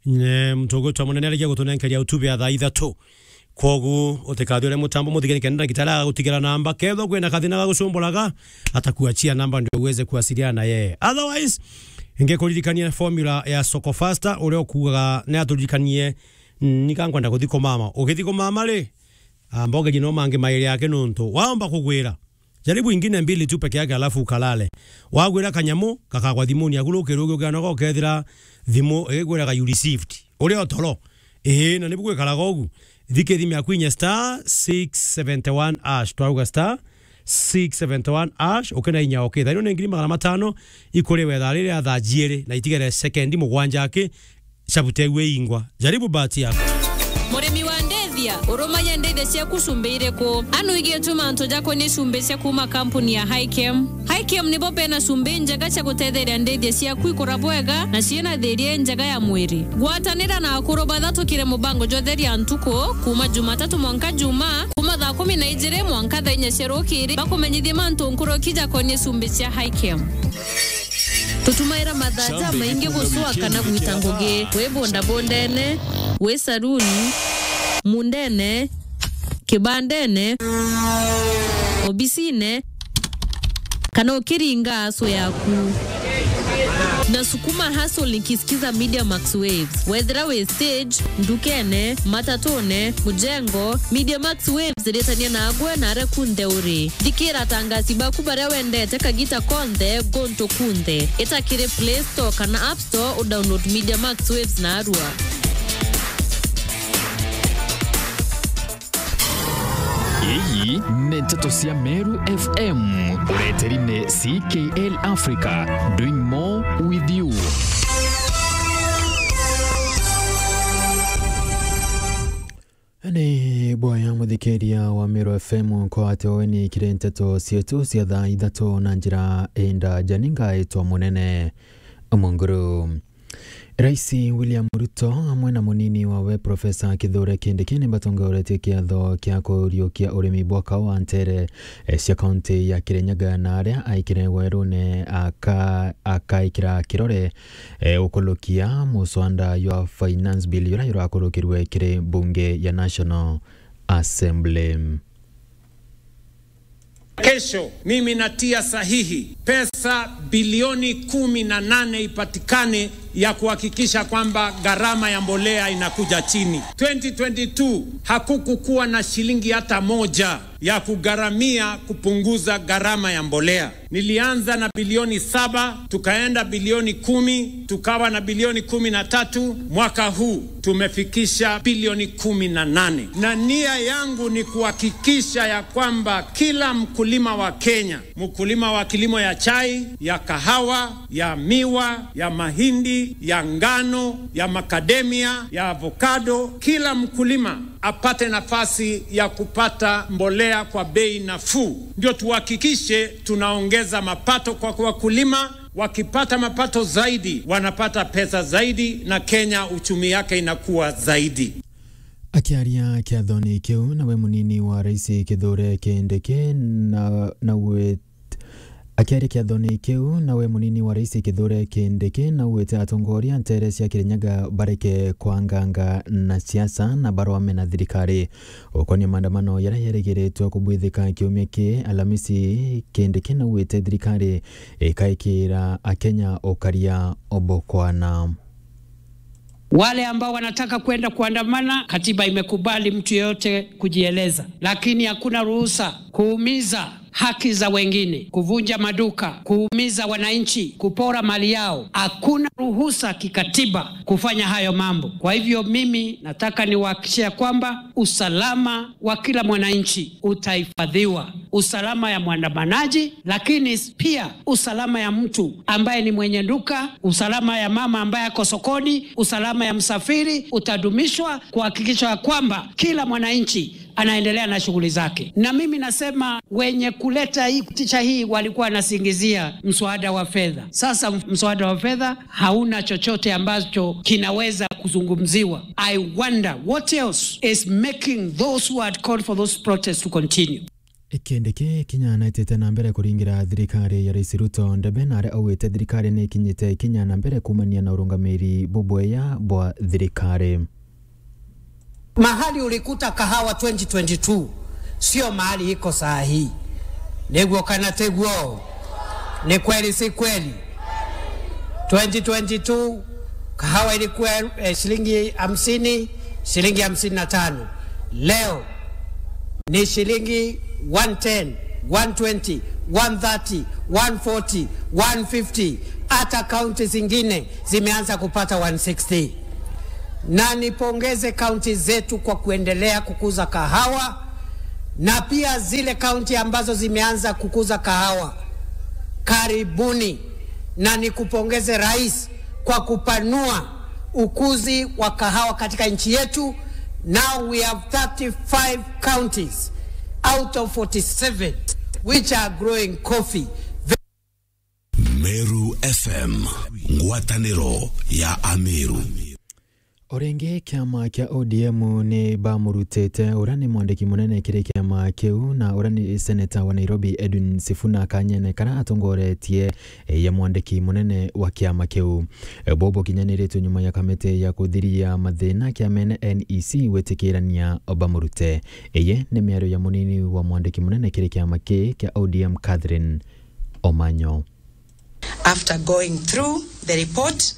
Nye, mutugutwa munene arikia gutunenkeria utube ya thaa ithatu. Kwogu, utikathiure mutambo muthikire, kenda ndagitari agutigira namba. Kethwa kwina kathina gagucumburaga, atakuachia namba ndio uweze kuwasiliana na yeye. Otherwise, ingekuririkania formula ya Soko Faster, uria ukuugaga ni aturirikanie, mm, nika nkwenda kuthi kumama. Ugithi kumama ri, amba ugerie no mangi mairi yake, nuntu waomba kugwira. Jaribu ingine mbili tu peke yake, alafu ukalale. Wagwira kanyamu, gakagwa thimuni yaku, rukiru ugiukira nogo ukethira thimu igigwira ga you received. Uri o toro. Ii, na nibu gwikaraga ugu. Thikia thimu yaku inye star six seventy one hash. Twauga star six seventy one hash, ukina inya okay. Thaino ni ngiri magana matano, ikuriwe thaa riri ya thaa jiiri, na itigere sekendi mugwanja aki, cabutegwe ingwa. Jaribu bahati yako. Murimi wa ndithia, urumanya ndithia ciaku cumbi iriku? Anu igietwe mantu jakonie cumbi cia kuuma kampuni ya Hikem. Hikem nibo bena cumbi njega cia gutetheria ndithia ciaku ikura bwega na ciina thiria injega ya mwiri. Gwatanira na akuru bathatukire mubango jwa Theria Ntuku, kuuma Jumatatu mwanka Juma, kuuma thaa kumi na ijiri mwanka thaa inya cia rukiri, bakumenyithie mantu nkuruki jakonie cumbi cia Hikem. Tutumaira mathaa jamaingi gucua kana gwita ngugi, wi bondabondene, wi saruni, mundene, kibandene, obisine, kana ukiringa aso yaku. Na sukuma hustle nikisikiza Media Max Waves. Wethira wi stage, ndukene, matatune, mujengo, Media Max Waves iritania nagwe na aria kunthe uri. Thikira atangasi baku baria wendete kagita konthe, guntu kunthe. Ita kiri Play Store kana App Store, udownload Media Max Waves narua. Iyi ni nteto cia Meru F M, ureteri ni C K L Africa, doing more with you. Bwaya muthikiria wa Meru F M, nkwate weni kiri nteto cietu cia thaa ithatu na njira indaja. Ni ngaitwa Munene Munguru. Rais William Ruto amwe na munini wawe Professor Kithure Kindiki ni batongoretie kiatho kia kuriukia urimi bwa kawa ntere, eh, cia kaunti ya Kirinyaga, na aria aikire werune aka-, akaikira kirore, eh, ukulukia muswanda jwa finance bill jura jurakurukirwe kiri mbunge ya National Assembly. Kesho mimi natia sahihi pesa bilioni kumi na nane ipatikane ya kuhakikisha kwamba gharama ya mbolea inakuja chini. Twenty twenty-two hakukukuwa na shilingi hata moja ya kugharamia kupunguza gharama ya mbolea. Nilianza na bilioni saba, tukaenda bilioni kumi, tukawa na bilioni kumi na tatu. Mwaka huu tumefikisha bilioni kumi na nane. Na nia yangu ni kuhakikisha ya kwamba kila mkulima wa Kenya, mkulima wa kilimo ya chai, ya kahawa, ya miwa, ya mahindi, ya ngano, ya macadamia, ya avocado, kila mkulima apate nafasi ya kupata mbolea kwa bei nafuu, ndio tuhakikishe tunaongeza mapato kwa wakulima. Wakipata mapato zaidi, wanapata pesa zaidi, na Kenya uchumi yake inakuwa zaidi. Akiaria kiathoni kiu, nawe munini wa Rais Kithure Kindiki na, na we Akiaria kiathoni kiu, nawe munini wa Rais Kithure Kindiki naugite atongoria ntere cia Kirinyaga bareke kwanganga na siasa na barwame na thirikari. Ukonia maandamano jaria jerigiritwe kubwithika kiumia ki Alamisi, Kindiki naugite thirikari ikaikira Akenya ukaria obokwana. Wale ambao wanataka kwenda kuandamana, katiba imekubali mtu yeyote kujieleza, lakini hakuna ruhusa kuumiza haki za wengine, kuvunja maduka, kuumiza wananchi, kupora mali yao. Hakuna ruhusa kikatiba kufanya hayo mambo. Kwa hivyo mimi nataka niwahakikishie kwamba usalama wa kila mwananchi utahifadhiwa. Usalama ya mwandamanaji, lakini pia usalama ya mtu ambaye ni mwenye duka, usalama ya mama ambaye ako sokoni, usalama ya msafiri utadumishwa, kuhakikisha kwamba kila mwananchi anaendelea na shughuli zake. Na mimi nasema wenye kuleta hii, picha hii walikuwa wanasingizia mswada wa fedha. Sasa mswada wa fedha hauna chochote ambacho kinaweza kuzungumziwa. I wonder what else is making those who had called for those protests to continue. Kindiki kinya naitite na mbere kuringira thirikari ya Rais Ruto ndebe, na aria augite thirikari ni ikinyite kinya na mbere kumania na urungamiri bubwega bwa thirikari. Mahali ulikuta kahawa twenty twenty-two, sio mahali iko saa hii. Niguo kana tiguo? Ni kweli, si kweli? Twenty twenty-two, kahawa ilikuwa, eh, shilingi hamsini, shilingi hamsini na tano. Leo ni shilingi one ten, one twenty, one thirty, one forty, one fifty. Hata kaunti zingine zimeanza kupata one sixty. Na nipongeze kaunti zetu kwa kuendelea kukuza kahawa, na pia zile kaunti ambazo zimeanza kukuza kahawa, karibuni. Na nikupongeze Rais kwa kupanua ukuzi wa kahawa katika nchi yetu. Now we have thirty-five counties out of forty-seven which are growing coffee. Meru F M, ngwataniro ya Ameru. O ringi, kiama kia O D M ni bamurutite uria ni mwandiki munene kiri kiama kiu na uria ni seneta wa Nairobi Edwin Sifuna kanyene karia atongoretie, eh, ya mwandiki munene wa kiama kiu. Eh, bubu bukinyaniritwe nyuma ya kamiti ya kuthiria mathina kiamene N E C gwitikirania bamurute. Iyi ni miario ya munini wa mwandiki munene kiri kiama ki kia O D M Catherine Omanyo. After going through the report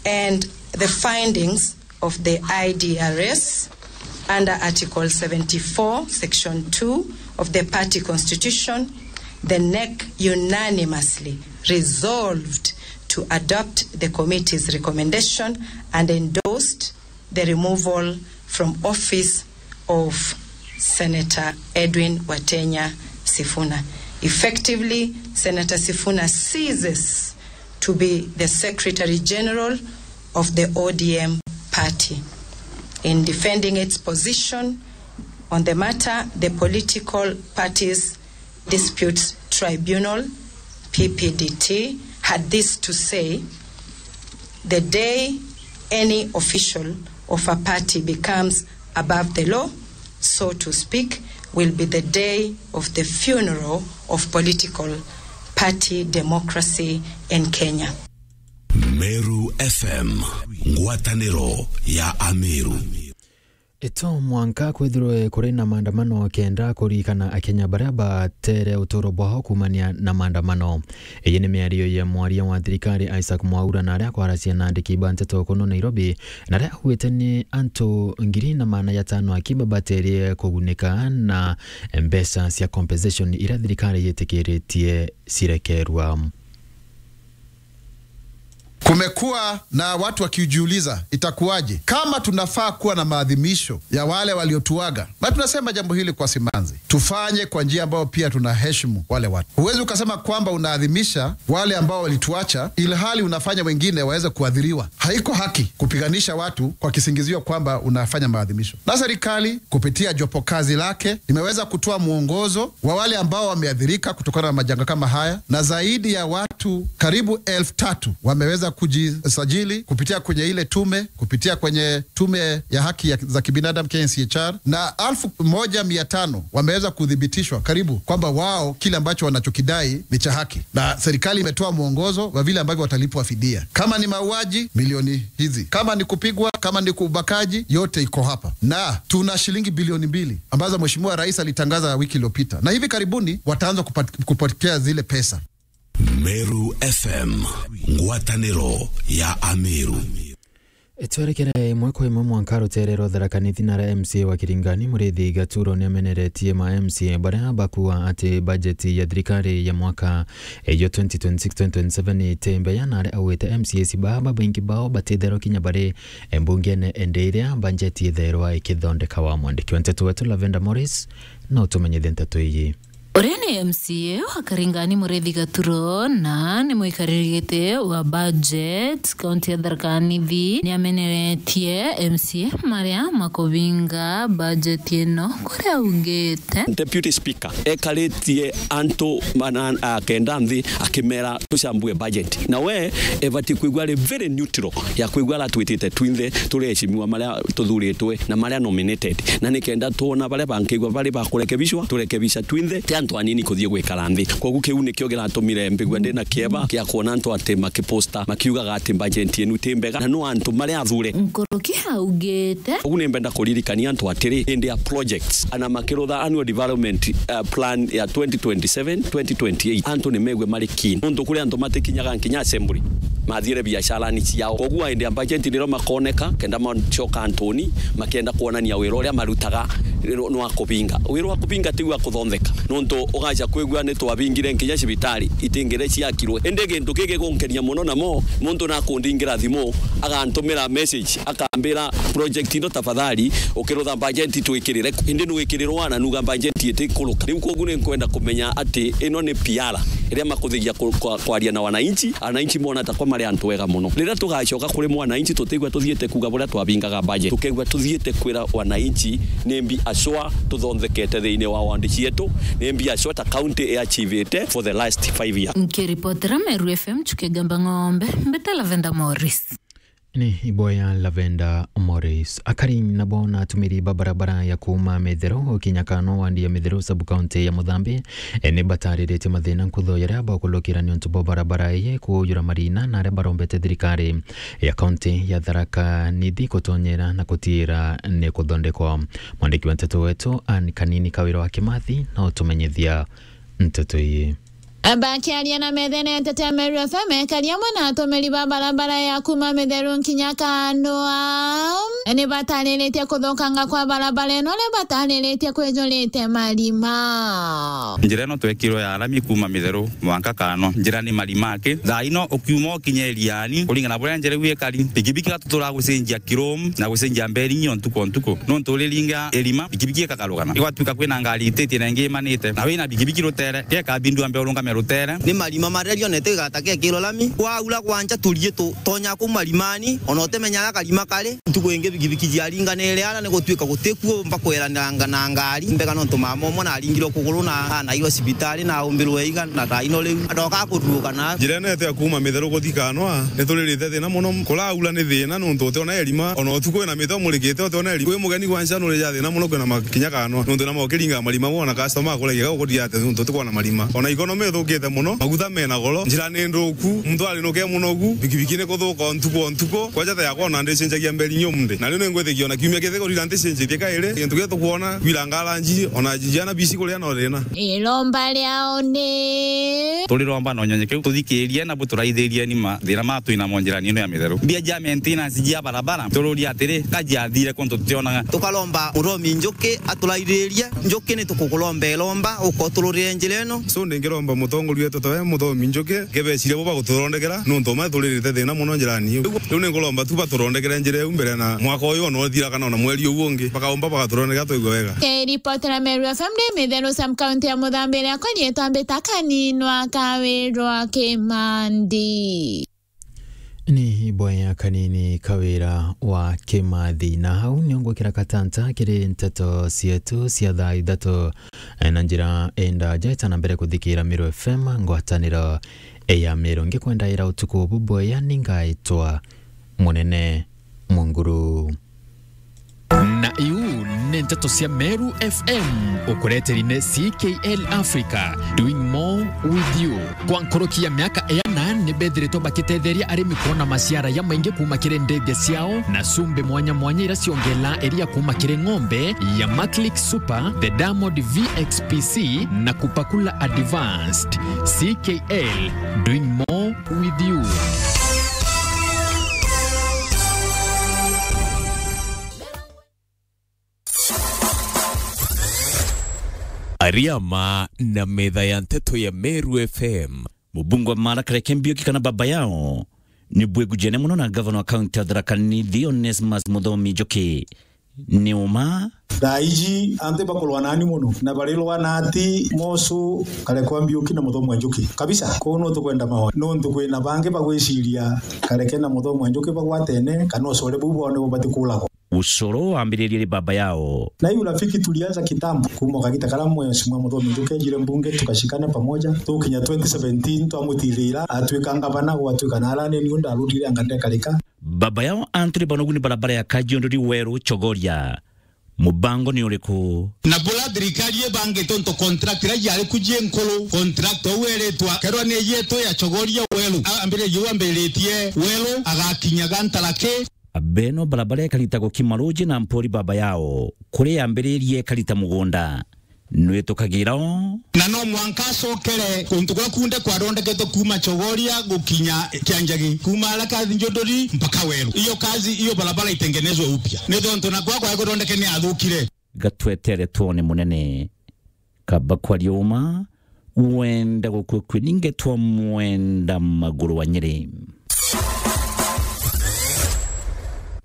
and the findings of the I D R S under Article seventy-four, Section two of the party constitution, the NEC unanimously resolved to adopt the committee's recommendation and endorsed the removal from office of Senator Edwin Watenya Sifuna. Effectively, Senator Sifuna ceases to be the Secretary General of the O D M party. In defending its position, On the matter, the Political Parties Disputes Tribunal, P P D T, had this to say: "The day any official of a party becomes above the law, so to speak, will be the day of the funeral of political party democracy in Kenya." Meru F M, ngwatanĩro ya Ameru. Ito mwanka kwithirwe kuri na maandamano kenda kuririkana Akenya baria batere uturo bwao kuumania na maandamano. Iyi ni miario ya mwaria wa thirikari Isaac Mwaura na aria akwaracia na andiki ba nteto kuno Nairobi, na aria augite ni antu ngiri na maana ya tano aki babaterie kugunika na mbeca cia compensation iria thirikari yitikiritie cirekerwa. Kumekuwa na watu wakijiuliza, itakuwaje kama tunafaa kuwa na maadhimisho ya wale waliotuaga? Na tunasema jambo hili kwa simanzi, tufanye kwa njia ambayo pia tunaheshimu wale watu. Huwezi ukasema kwamba unaadhimisha wale ambao walituacha, ilhali unafanya wengine waweze kuadhiriwa. Haiko haki kupiganisha watu kwa kisingizio kwamba unafanya maadhimisho. Na serikali kupitia jopo kazi lake imeweza kutoa mwongozo wa wale ambao wameathirika kutokana na majanga kama haya, na zaidi ya watu karibu elfu tatu wameweza kujisajili kupitia kwenye ile tume, kupitia kwenye tume ya haki ya, za kibinadamu, K N C H R, na elfu moja mia tano wameweza kuthibitishwa karibu kwamba wao kile ambacho wanachokidai ni cha haki, na serikali imetoa mwongozo wa vile ambavyo watalipwa fidia. Kama ni mauaji, milioni hizi. Kama ni kupigwa, kama ni ubakaji, yote iko hapa. Na tuna shilingi bilioni mbili ambazo Mheshimiwa Rais alitangaza wiki iliyopita, na hivi karibuni wataanza kupat-, kupokea zile pesa. Meru F M, ngwatanĩro ya Ameru. Twerekere imwe kwa imwe mwanka rutere rwa Tharaka Nithi, na aria M C A wa Kiringani Muriithi Gaturo ni ameneretie ma M C A baria bakuuga ati bajeti ya thirikari ya mwaka ya twenty twenty-six twenty twenty-seven iti mbeya, na aria augite M C As baa babaingi bao batitherwa kinya bari mbungene, indi iria bajeti itherwa ikithondekawa. Mwandiki wa nteto wetu Lavender Morris na utumenyithie nteto iji. Uria ni M C A wa Karingani Muriithi Gaturo na ni mwikariri giti wa budget kaunti ya Tharaka Nithi ni ameneretie M C A maria makubinga budget ino, kuria augite. Deputy Speaker ekaritie antu mana, a, kenda nthi akimera tucambue budget. Na we ebati kwigua ari very neutral ya kwigua aria twitite twinthe turi eheshimiwa maria tuthuritwe na maria nominated. Na nikenda twona baria bankigua bari ba kurekebishwa, turekebisha twinthe, ti antu anini kuthii gwikara nthi. Koguo kiu nikio giratumire mbigua ndina kieba kia kwona antu ati makiposta makiugaga ati budget yenu ti mbega, na no antu maria athure. Nkuruki augite. Ugu ni mbenda kuririkania antu atiri, indi ya projects, ana makirutha annual development, uh, plan ya twenty twenty-seven, twenty twenty-eight, antu ni megwe mari keen. Nontu kuri antu matikinyaga nkinya assembly, mathiire biacarani ciao. Koguo indi ya budget nirio makoneka, kenda macoka antuni, makienda kwonania wira uria marutaga ni wa kubinga. Wira wa kubinga ti wa kuthontheka. Nontu ugaca kwigua ni twabingire nkinya cibitari itingire ciakirwe. Indi gintu kigi gunkenia muno namo, muntu nakundingira thimu, agantumira message, akambira, "Project ino tafadhali, ukirutha budget twikirire ku." Indi nwikirirwa na nuga budget itikuruka. Riu koguo ni nkwenda kumenya ati ino ni P R iria makuthigia ku-, kwa-, kwaria na wananchi, wananchi mona ta kwa mari antu wega muno. Riria tugacoka kuri mwananchi, tutigua tuthiite kuuga buria twabingaga budget. Tukegua tuthiite kwira wananchi ni mbi acwa tuthonthekete thiini wa wandi cietu, ni mbi acwa ta county iachivite for the last five years. Nkiripotera Meru F M, Chuke Gamba Ng'ombe, mbeta Lavender Morris. Ni iboya Lavender Morris. Akari nabo na atumiri ba barabara ya kuuma Mithero ukinya Kano, wandi ya Mithero, sub-county ya Muthambi, e, ni batariritie mathina nkutho yaria bakulukira niuntu bwa barabara iyi kuujura marina, na aria barombete thirikari ya kaunti ya Tharaka Nithi kutonyera na kutiira ni kuthondekwa. Mwandiki wa nteto wetu Anne Kanini Kawira wa Kimathi na utumenyithia nteto iyi. Bakiaria na methene ya nteto ya Meru F M, ekari amwe na atumiri ba barabara ya kuuma Mitheru nkinya Kanua ni batariritie kuthukanga kwa barabara ino, ni batariritie kwijurite marima. Njira ino twekirwe ya rami kuuma Mitheru mwanka Kanua, njira ni marima aki. Thaa ino ukiuma ukinye Iriani, kuringana na buria njira iu ikari, pikipiki igatutura gucenjia kirum na gucenjia mberingi o ntuku o ntuku. Nontu uriringa irima, pikipiki ikakarugana. Igwatuika kwina ngari ititie na ingi imanite, na wina pikipiki rutere, gekabindua mbere urungame Rutere. Ni marima maria rionete igata gekirwa lami. Kwaura gwanja turie tu, tonya kuu marimani, ona utimenya aria karima kari. Ntuku ingi bikibiki jiaringanire ara ni gutuika gutikuo mba kweraniranga na ngari. Mbega nontu mama umwe naringirwe kuguru na anairwe cibitari na aumbirwe iga na thaa ino riu. Adoka kururuka na. Njira ino yetu ya kuuma Mitheru guthi Kanwa, ni turirite thina muno. Kuraura ni thina nontu utiona irima, ona utuku wina miti umurikite utiona irima. Wi mugeni gwanja nurija thina muno kwina makinya Kanwa. Nontu na mokiringa marima wona customer akuregeka uguria ati nontu utikwona marima. Ona economy ithukite muno, maguta mena goro, njira ni nthuku, muntu arinuke muno gu, bikibiki ni kuthuka o ntuku o ntuku, kwanja ta yakwa ona ndicenjagia mberi nyumde. Na riu ni ngwitikia ona kiumia kithi kurira ndicenjitie kairi, gintu gia tukwona, kwiranga aranji, ona jiana bisi kuria no thina. Iromba riao ni. Turiromba na unyonyekeru, tuthikirie na buturaithirie ni mathina ma twina mo njirani ino ya Mitheru. Mbia jia maintenance jia barabara, tururia atiri, ka jiathire kuntu tutionaga. Tukaromba Muthomi Njuki aturaithirie. Njuki ni tukukuromba iromba, ukotururire njira ino. So ndingiromba mutongoria wetu tawe Muthomi Njuki, ngibeciria bo baguturondekera, nontu ma turirite thina muno njirani iu. Riu ni nguromba tu baturondekere njira iu mbere na mwaka uyu ona uthira kana ona mweri uyu ungi, bakaumba bagaturondekera twaigua wega. Kiripotera Meru F M ni Mitheru sub county ya Muthambi, riakwa riitwa Mbita Kaninwa Kawirwa Kimandi. Ni iboya kanini Kawira wa Kimathi, na hau nio ngwikira katanta kiri nteto cietu cia thaa ithatu. Na njira indaja, itana mbere kuthikira Miru F M, ngwataniro ya Miru. Ngikwenda ira utuku bubwega, ni ngaitwa Munene Munguru. Na iu ni nteto cia Meru F M, ukureteri ni C K L Africa, doing more with you. Kwa nkuruki ya miaka iana, ni bethiritwe bakitetheria arimi kwona maciara jamaingi kuuma kiri ndithia ciao, na cumbi mwanya mwanya iria ciongelaa iria kuuma kiri ng'ombe ya Maclick Super, the Diamond V X P C, na Kupakula Advanced. C K L, doing more with you. Ariama na metha ya nteto ya Meru F M. Mubunge wa Mara Kareke Mbiuki kana baba yao ni bwigujene muno na gavana wa kaunti ya Tharaka Nithi Onesmus Muthomi Njuki. Ni uma. Thaa iji antu bakurwa nani muno, na barirwa na ati Mosu Kareke wa Mbiuki na Muthomi wa Njuki kabisa. Kuu no tukwenda mahoya, nontu kwina bangi bagwiciria Kareke na Muthomi wa Njuki bagwatene, kana ucore buu bwao nibo batikuragwa. Ucoro wambiririe ri baba yao. Na hii urafiki tulianza kitambo, kuuma kagita karia Mheshimiwa Muthomi Njuki ejire mbunge, tukashikana pamoja, tukinya twenty seventeen twamutithira, atwika ngavana, gwatwika na arani niu ndarutire anga ndekarika. Baba yao Anthony Banogu ni barabara ya Kajiondori Weru Chogoria. Mubango ni uriku? Na bura thirikari ibangite untu contract iria yari ku ji nkuru, contract uu eritwa kerwa ni yetu ya Chogoria Weru. Ambiririe uu ambiritie Weru, agakinya Gantaraki. Beno barabara ikarita gukima ruji na mpori baba yao, kuri yambiririe ikarita mugunda. Nwitukagira o. Na no mwanka acokere kuntu kuria kunthe kwathondeketwe kuuma Chogoria gukinya Kianjagi, kuuma aria Kathinjunduri mpaka Weru. Hiyo kazi, hiyo barabara itengenezwe upya. Ni tontu na kwa kwa kuthondeke ni athukire. Gatwetere twone munene. Kaba kwaria uma, wenda gukua kwi ninge twa mwenda maguru wa Nyeri.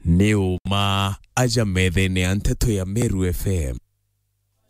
Ni uma aja methene ya nteto ya Meru F M.